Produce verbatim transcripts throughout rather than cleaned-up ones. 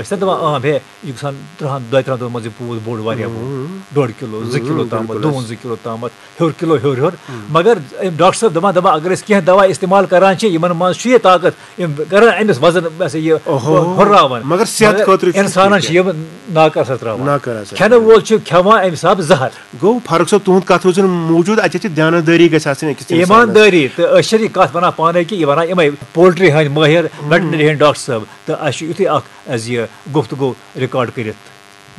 أسۍ چھِ دَپان، آ، ہے، یہِ گژھان تٕرٛہَن، دۄیہِ تٕرٛہَن دۄہَن منٛز یہِ پوٗت بوٚڑ واریاہ بوٚڑ، ڈۄڈ کِلوٗ، زٕ کِلوٗ تامَتھ، بِلکُل۔ دوٗن زٕ کِلوٗ تامَتھ، ہیوٚر کِلوٗ ہیوٚر ہیوٚر۔ مگر أمۍ ڈاکٹر صٲب دَپان، دَپان، اگر أسۍ کینٛہہ دَوا استعمال کَران چھِ، یِمَن منٛز چھُ یہِ طاقت، یِم کَران أمِس وَزَن، یہِ اوہو۔ ہُرراوان۔ مگر صحت مگر خٲطرٕ چھُ اِنسانَن ٹھیٖک چھِ یِم ناکارٕ اَثر ترٛاوان۔ ناکارٕ اَثر کھٮ۪نہٕ ترٛاوان۔ وول چھُ کھٮ۪وان اَمہِ حِسابہٕ زَہر۔ گوٚو فاروق صٲب، تُہُنٛد کَتھ روزِ نہٕ موٗجوٗد، اَتہِ چھِ دیانتدٲری گژھِ آسٕنۍ أکِس اِنسانَس۔ ایٖماندٲری، تہٕ أسۍ چھِنہٕ یہِ کَتھ وَنان پانَے کہِ یہِ وَنان یِمَے پولٹری ہٕنٛدۍ مٲہِر، ویٹنری ہٕنٛدۍ ڈاکٹر صٲب، تہٕ اَسہِ چھُ یُتھُے اَکھ اَسہِ یہِ گفتگو ریکارڈ کٔرِتھ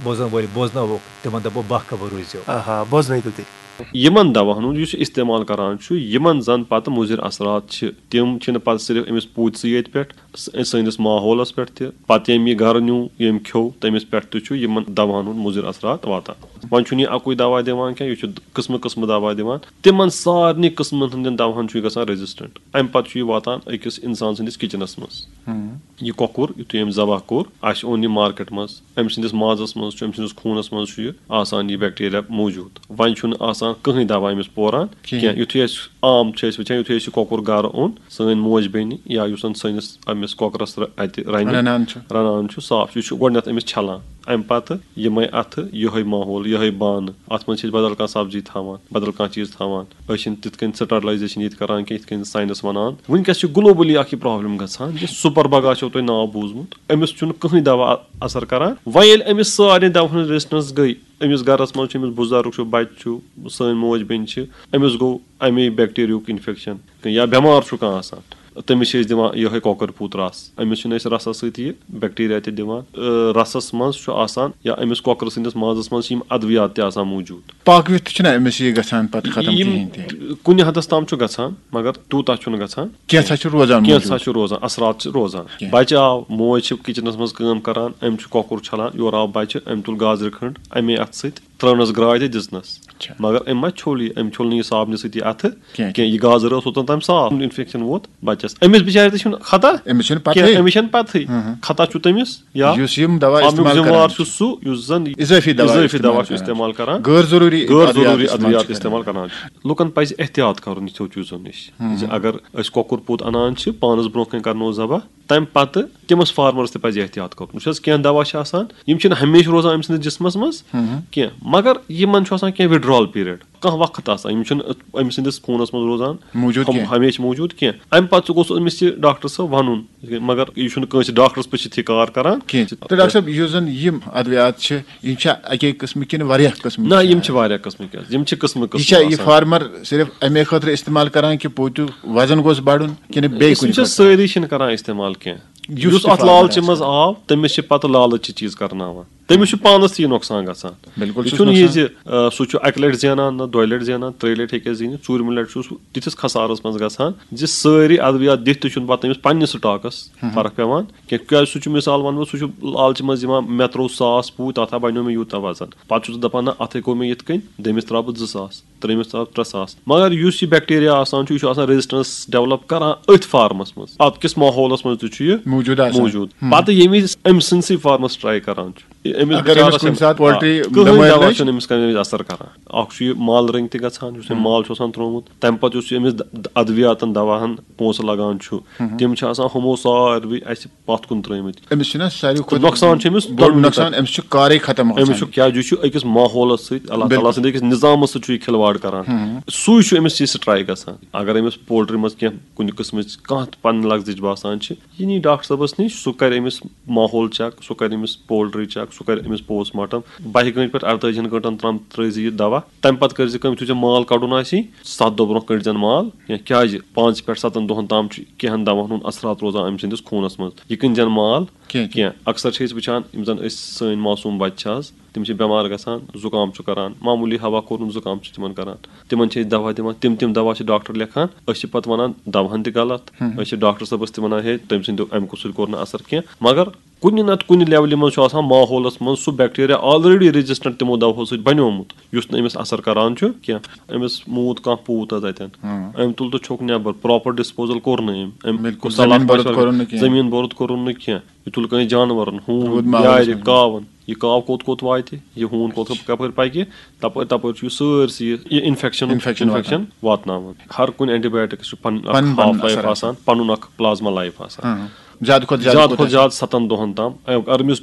بوزن وٲلۍ بوزناووکھ، تِمن دپو باہ خبر روٗزِو۔ آہا، بوزنٲیتو تُہۍ۔ یِمن دواہن ہُنٛد یُس یہِ استعمال کران چھُ، یِمن زن پتہٕ مُضر اثرات چھِ، تِم چھِنہٕ پتہٕ صرف أمِس پوٗتۍ سٕے یٲتۍ پٮ۪ٹھ، س-، سٲنِس ماحولس پٮ۪ٹھ تہِ۔ پتہٕ ییٚمۍ یہِ گرٕ نیوٗ، ییٚمۍ کھیوٚو، تٔمِس پٮ۪ٹھ تہِ چھُ یِمن دواہن ہُنٛد مُضر اثرات واتان۔ وۄنۍ چھُنہٕ یہِ اَکُے دوا دِوان کینٛہہ، یہِ چھُ قٕسمہٕ قٕسمہٕ دوا دِوان۔ تِمن سارنٕے قٕسمن ہٕنٛدٮ۪ن دواہن چھُ یہِ گژھان ریزسٹنٹ۔ امہِ پتہٕ چھُ یہِ واتان أکِس انسان سٕنٛدِس کچنس منٛز۔ ہم۔ یہِ کۄکُر، یُتھُے أمۍ ذبح کوٚر، اَسہِ اوٚن یہِ مارکیٹ منٛز، أمۍ سٕنٛدِس مازَس منٛز چھُ، أمۍ سٕنٛدِس خوٗنَس منٛز چھُ یہِ آسان، یہِ بیکٹیریا موٗجوٗد۔ وۄنۍ چھُنہٕ آسان کٕہٕنۍ دَوا أمِس پوران کِہیٖنۍ۔ کینٛہہ۔ یُتھُے أسۍ عام چھِ أسۍ وٕچھان، یُتھُے أسۍ یہِ کۄکُر گَرٕ اوٚن، سٲنۍ موج بیٚنہِ یا یُس زَن سٲنِس أمِس کۄکرَس رَ-، اَتہِ رَنہِ، رَنان چھُ۔ رَنان چھُ صاف، یہِ چھُ گۄڈٕنٮ۪تھ أمِس چھَلان۔ اَمہِ پَتہٕ یِمَے اَتھٕ، یِہوٚے ماحول، یِہوٚے بانہٕ، اَتھ منٛز چھِ أسۍ بدل کانٛہہ سبزی تھاوان، بدل کانٛہہ چیٖز تھاوان۔ أسۍ چھِنہٕ تِتھ کٔنۍ سٹرلایزیشن ییٚتہِ کران کینٛہہ، یِتھ کٔنۍ ساینس ونان۔ وٕنکیٚس چھِ گلوبلی اکھ یہِ پرابلم گژھان، یہِ سپر بگ آسیو تۄہہِ ناو بوٗزمُت، أمِس چھُنہٕ کٕہٕنۍ دوا اثر کران۔ وۄنۍ ییٚلہِ أمِس سارنٕے دواہن ہٕنٛز ریزسٹنس گٔے، أمِس گرس منٛز چھُ، أمِس بُزرگ چھُ، بچہِ چھُ، سٲنۍ موج بیٚنہِ چھِ، أمِس گوٚو امے بیکٹیریاہُک انفیکشن یا بٮ۪مار چھُ کانٛہہ آسان۔ تٔمِس چھِ أسۍ دِوان یِہوٚے کۄکر پوٗت رس۔ أمِس چھِنہٕ أسۍ رسس سۭتۍ یہِ بیکٹیریا تہِ دِوان۔ ٲ، رسس منٛز چھُ آسان یا أمِس کۄکرٕ سٕنٛدِس مازس منٛز چھِ یِم ادویات تہِ آسان موٗجوٗد۔ پاکوِتھ تہِ چھُنہ أمِس یہِ گژھان پتہٕ ختم یِم کِہیٖنۍ تہِ؟ کُنہِ حدس تام چھُ گژھان، مگر تیوٗتاہ چھُنہٕ گژھان۔ کینٛژھا چھُ روزان کینٛژھا موٗجوٗد۔ چھُ روزان، اثرات چھِ روزان۔ کینٛہہ۔ بچہِ آو، موج چھِ کچنس منٛز کٲم کران، أمۍ چھُ کۄکُر چھلان، یورٕ آو بچہِ، أمۍ تُل گازرِ کھنٛڈ، امے اتھٕ سۭتۍ ترٲونس گراے تہٕ دِژنس۔ اچھا۔ مگر أمۍ ما چھوٚل یہِ؟ أمۍ چھوٚل نہٕ یہِ صابنہِ سۭتۍ یہِ اَتھٕ کینٛہہ۔ کینٛہہ۔ یہِ گازرِ ٲس اوٚتام تام صاف۔ انفیکشن ووت بچس۔ أمِس بِچارِ تہِ چھُنہٕ خطا أمِس چھُنہٕ پتہٕے۔ کینٛہہ۔ أمِس چھَنہٕ پتہٕے۔ ہاں، ہاں۔ خطا چھُ تٔمِس یا یُس یِم دوا اَمیُک استعمال ذمہٕ وار کران چھُ چھِ۔ سُہ یُس زن اضٲفی دوا اضٲفی دوا استعمال چھُ کران۔ استعمال کران۔ غٲر ضروٗری غٲر ادویات ضروٗری استعمال ادویات چھِ استعمال کران۔ کران۔ لُکن پزِ احتیاط کرُن یِتھیو چیٖزو نِش۔ ہاں، زِ ہاں۔ اگر أسۍ کۄکُر پوٗت انان چھِ، پانس برونٛہہ کنہِ کرنو ذبح، تَمہِ پَتہٕ تٔمِس فارمَرَس تہِ پَزِ احتیاط کَرُن۔ وٕچھ حظ، کینٛہہ دَوا چھِ آسان، یِم چھِنہٕ ہمیشہِ روزان أمۍ سٕنٛدِس جِسمَس منٛز ہُم۔ کینٛہہ، مگر یِمَن چھُ آسان کینٛہہ withdrawal period، کانٛہہ وقت آسان، یِم چھِنہٕ أمۍ سٕنٛدِس خوٗنَس منٛز روزان موٗجوٗد ہم-، کینٛہہ۔ ہمیشہِ موٗجوٗد کینٛہہ۔ اَمہِ پَتہٕ تہِ گوٚژھ أمِس یہِ ڈاکٹر صٲب وَنُن، مگر یہِ چھُنہٕ کٲنٛسہِ ڈاکٹرَس پٔتھۍ تھی کار کَران۔ کینٛہہ۔ تہٕ ڈاکٹر صٲب، یُس زَن یِم اَدوِیات چھِ، یِم چھا اَکے قٕسمٕکۍ کِنہٕ واریاہ قٕسمٕکۍ نہ، چھِ یِم اَتھ؟ چھِ واریاہ قٕسمٕکۍ حظ، یِم چھِ قٕسمہٕ یہِ قٕسمہٕ چھا یہِ آسان۔ فارمر صرف اَمے خٲطرٕ استعمال کران کہِ پوٗتیُک وزن گوٚژھ بڑُن کِنہٕ بیٚیہِ أسۍ کُنہِ چھِ خٲطرٕ؟ سٲری چھِنہٕ کران استعمال کینٛہہ۔ یُس یُس تہِ اَتھ فارمر لالچہِ آسہِ۔ منٛز آو، تٔمِس چھِ پتہٕ لالچہِ چیٖز کرناوان۔ تٔمِس چھُ پانس تہِ یہِ نۄقصان گژھان۔ بِلکُل یہِ چھُس چھُنہٕ یہِ نۄقصان۔ زِ، آ، سُہ چھُ اَکہِ لَٹہِ زینان، نہ دۄیہِ لَٹہِ زینان، ترٛیٚیہِ لَٹہِ ہیٚکہِ زیٖنِتھ، ژوٗرمہِ لَٹہِ چھُ سُہ تِتھِس خسارس منٛز گژھان زِ سٲری ادوِیات دِتھ تہِ چھُنہٕ پتہٕ تٔمِس پننِس سٹاکس ہُم۔ فرق پٮ۪وان کینٛہہ۔ کیٛازِ سُہ چھُ مثال وَنہٕ بہٕ، سُہ چھُ لالچہِ منٛز یِوان، مےٚ ترٛوو ساس پوٗتۍ، تَتھ ہا بَنیو مےٚ یوٗتاہ وزن۔ پَتہٕ چھُ سُہ دَپان، نہ، اَتھَے گوٚو مےٚ یِتھ کٔنۍ، دٔیمِس ترٛاوٕ بہٕ زٕ ساس، ترٛیٚیمِس ترٛاوٕ ترٛےٚ ساس۔ مگر یُس یہِ بیکٹیریا آسان چھُ، یہِ چھُ آسان resistance develop کران أتھۍ فارمَس منٛز، اَتھ کِس ماحولَس منٛز تہِ چھُ یہِ ہُم۔ موٗجوٗد۔ پَتہٕ ییٚمہِ وِزِ أمۍ سٕنٛدسٕے فارمَس try کران چھُ، یہِ أمِس اگر أمِس بِچارَس کُنہِ چھُنہٕ، ساتہٕ poultry آ، کٕہٕنۍ بٮ۪مٲرۍ دَوا لٔج؟ چھُنہٕ أمِس کَمہِ وِزِ اثر کران۔ اَکھ چھُ یہِ مال رٔنٛگۍ تہِ گژھان، یُس أمۍ ہُم۔ مال چھُ آسان ترٛوومُت، تَمہِ پَتہٕ یُس یہِ أمِس د-، د-، ادوِیاتَن دَواہَن پونٛسہٕ لَگان چھُ، ہُم۔ تِم چھِ آسان ہُمو ساروٕے اَسہِ پَتھ کُن ترٛٲومٕتۍ۔ أمِس چھُنہ ساروی تہٕ کھۄتہٕ نۄقصان چھُ أمِس بوٚڑ دۄنوٕنی نۄقصان، طرفہٕ۔ أمِس چھُ کارٕے ختم گژھان۔ أمِس چھُ کیٛازِ یہِ چھُ أکِس ماحولَس سۭتۍ، اللہ تعالیٰ بِلکُل۔ سٕنٛدِ أکِس نظامَس سۭتۍ چھُ یہِ کھلواڑ کران۔ ہُم۔ سُے چھُ أمِس یہِ strike گژھان۔ اگر أمِس poultry منٛز کینٛہہ کُنہِ قٕسمٕچ کانٛہہ تہِ پَنٕنۍ لَغزٕچ باسان چھِ، یہِ نی ڈاکٹر صٲبَس نِش، سُہ کَرِ أمِس ماحول check، سُہ کَرِ أمِس poultry check، سُہ کَرِ أمِس post mortem۔ بَہہِ گٲنٛٹہِ پٮ۪ٹھ اَرتٲجِہَن گٲنٛٹَن تام ترٛٲیزِ یہِ دَوا۔ تَمہِ پَتہٕ کٔرزِ کٲم، یُتھُے ژےٚ مال کَڑُن آسی، سَتھ دۄہ برونٛہہ کٔڑزٮ۪ن مال، یا کیٛازِ پانٛژِ پٮ۪ٹھ سَتَن دۄہَن تام چھُ کینٛہَن دَواہَن ہُنٛد اثرات روزان أمۍ سٕنٛدِس خوٗنَس منٛز۔ یہِ کٕنۍ زٮ۪ن مال کینٛہہ، کینٛہہ۔ کینٛہہ۔ اکثر چھِ أسۍ وٕچھان، یِم زَن أسۍ سٲنۍ معصوٗم بَچہِ چھِ آز، تِم چھِ بٮ۪مار گژھان، زُکام چھُ کران، معموٗلی ہوا کوٚرُن زُکام چھُ تِمَن کران۔ تِمَن چھِ أسۍ دَوا دِوان، تِم تِم دَوا چھِ ڈاکٹر لیکھان، أسۍ چھِ پَتہٕ وَنان دَوہَن تہِ غلط۔ ہُم۔ أسۍ چھِ ڈاکٹر صٲبَس تہِ وَنان، ہے، تٔمۍ سٕنٛدِ اَمہِ سۭتۍ کوٚر نہٕ اثر کینٛہہ۔ مگر کُنہِ نَتہٕ کُنہِ levelہِ منٛز چھُ آسان ماحولَس منٛز سُہ bacteria already resistant تِمو دَوہو سۭتۍ بَنیومُت، یُس نہٕ أمِس اثر کران چھُ کینٛہہ۔ أمِس موٗد کانٛہہ پوٗت حظ اَتٮ۪ن، ہُم۔ أمۍ تُل تہٕ چھوٚک نٮ۪بر، proper disposal کوٚر نہٕ أمۍ۔ أمۍ بِلکُل، صلاح زٔمیٖن بورُت مشورٕ، کوٚرُن نہٕ کینٛہہ۔ زٔمیٖن بورُت کوٚرُن نہٕ کینٛہہ۔ یہِ تُل کٲنٛسہِ جانوَرَن، ہوٗن، روٗد ماحولَس یارِ، منٛز۔ کاوَن۔ یہِ کاو کوٚت کوٚت واتہِ، یہِ ہوٗن کوٚت کوٚت کَپٲرۍ پَکہِ، تَپٲرۍ تَپٲرۍ چھُ یہِ سٲرسٕے یہِ، یہِ infection، infection infection واتان۔ واتناوان۔ ہر کُنہِ antibiotic چھُ پَنُن اَکھ پَنُن، پَنُن half life اثر آسان، آسان۔ پَنُن اَکھ plasma life آسان۔ ہاں۔ زیادٕ کھۄتہٕ زیادٕ زیادٕ کوٗتاہ کھۄتہٕ زیادٕ ستن دۄہن تام، اگر أمِس